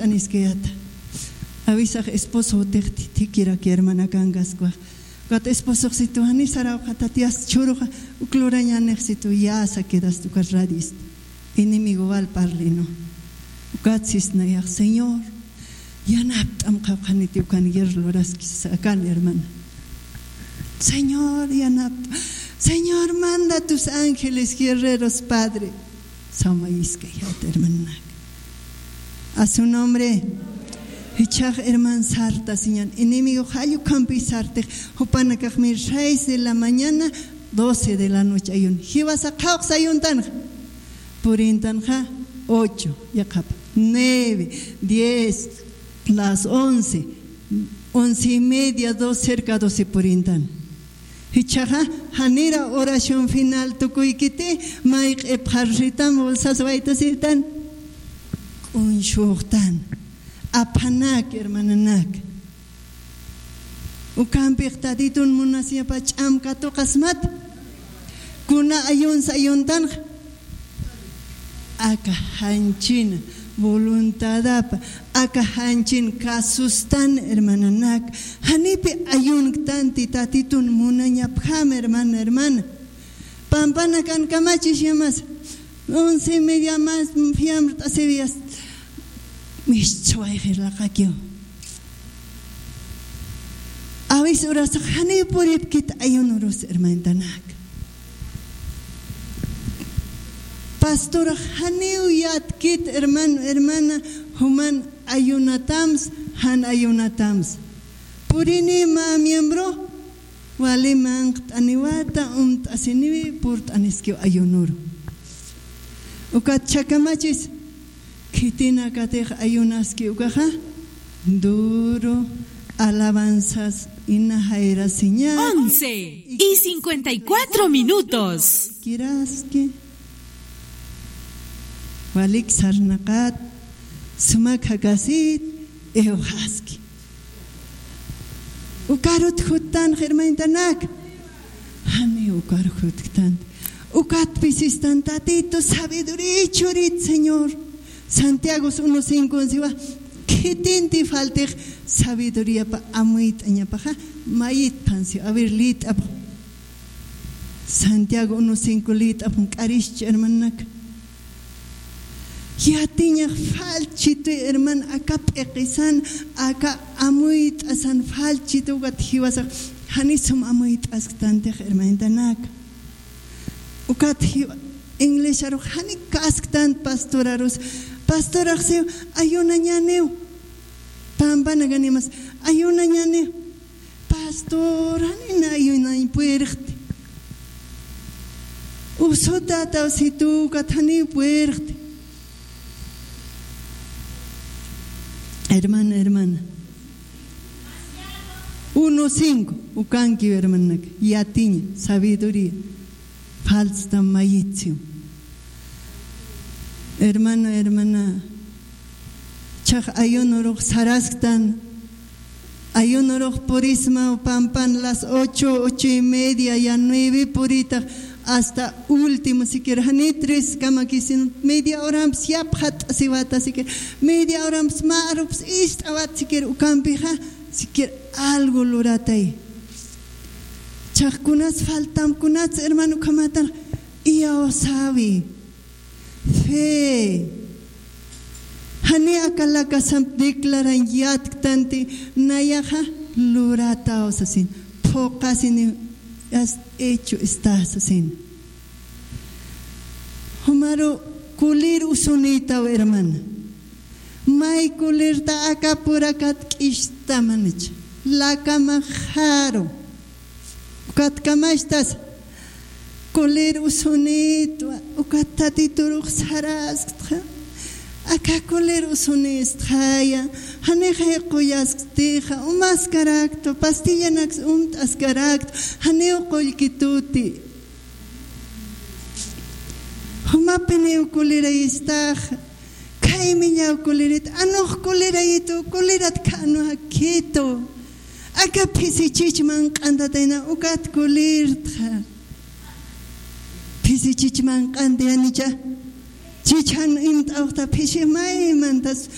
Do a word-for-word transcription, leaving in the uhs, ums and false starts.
Aniskayata. Awisax esposo utixti thikiraki hermanakankaskwa. Ukat esposoxsitu jani sarawxatati, as chhuruxa uk lurañanixsitu yasa quedasti ukat radista. Enemigo wal parlino. Ukat sisnayax, Señor, yanapt'am qhawqhaniti ukan guerra luraskis akan hermana. Señor, yanapt'am. Señor, manda tus ángeles guerreros, Padre. Samayiskayat hermananak. A su nombre. Jichhax herman sartasiñan. Enemigo jall ukhampi sartix. Jupanakaxmi seis de la mañana, doce de la noche ayun. Jiwasa qhawqsa ayuntanxa. Purintanxa ocho, yaqhapa, nueve, diez, las once, once y media, dos, cerca doce purintan. Jichhaxa, janira oración final tukuykiti, may q'ipxarxitam, bolsas waytasitan. K'uñshuxtan. Aphanak, hermananak. Ukampix Tatitun munasiñapa ch'am katuqasmat. Kuna ayuns ayuntanxa. Aka janchina voluntadapa, aka janchin kasustan, hermananak. Janipi ayunktanti Tatitun munañapjam, hermana, hermana. Pampanakan kamachis yamas. Once y media más, fiamrt'asiwiyas. Mischwayxir laqakiw. Awis urasax janiw puripkit ayunurus, hermanitanak. Pastorax janiw yatkit, hermano, hermana, juman ayunatams, jan ayunatams. Purini mä miembro, wali manqt'aniwata, umt'asiniwi, purt'aniskiw ayunuru. Ukat chhakamachis, khitinakatix ayunaski ukaxa, duro, alabanzas, ina jayrasiña. Once y cincuenta y cuatro minutos. Kiraski. Walik sarnaqat, sumak jakasit, iwxaski. Ukarut juttan, hermanitanak. Jani ukar jutktan. Ukat pisistan Tatitu, sabiduría churit, Señor. Santiago uno cinco siwa, khitinti faltix sabiduríapa amuyt'añapaxa, mayit phansi, a ver, lit'ap. Santiago uno cinco lit'ap, k'arixchi, hermananak. Yatiñax falchituy, herman, aka p'iqisan, aka amuyt'asan falchitu, ukat jiwasax jani sum amuyt'asktantix, hermanitanak. Ukat jiwa, iglesiarux jani kasktant pastorarus. Pastorax siw ayunañaniw. Pampanakan imas ayunañaniw. Pastor, jani na ayunañ puerxti. Usutataw situ, ukat jani puerxti. Hermana, hermana. Uno cinco, ukankiw hermananak, yatiña, sabiduría. Falstam mayitsiw. Hermano, hermana, chhax ayunurux sarasktan, ayunurux purismaw pampan las ocho, ocho y media, ya nueve puritax, hasta último, siquiera jani tres kamakis, sino media horamps yapxat'asiwata, siquiera media horamps mä arups ist'awat, siquiera ukampixa, siquiera algo luratay. Chhax kunas faltam, kunas hermano ukhamatan, iyawsawi. Fe. Jani aka lakasamp declarañ yatktanti, nayaxa lurataw sasin. Phuqasini, has hecho está sasin. Jumaru kulir usunïtaw, hermana. May kulirta aka purakat k'istamanicha. Lakamaxaru. Ukat kamachtas. Kulir usunïtwa. Ukat Tatiturux sarasktxa. Aka kulir usunïstxaya. Janixay qullasktixa. Umaskaraktwa. Pastillanaks umt'askaraktwa. Janiw qullkituti. Jumapiniw kulirayistaxa. Khaymiñaw kulirit, anux kulirayitu, kulirat khanu jakhitu. Aka phisichich manq'antatayna ukat kulirtxa. Phisichich manq'anti janicha. Chich jan imt'awxta phisi maymantas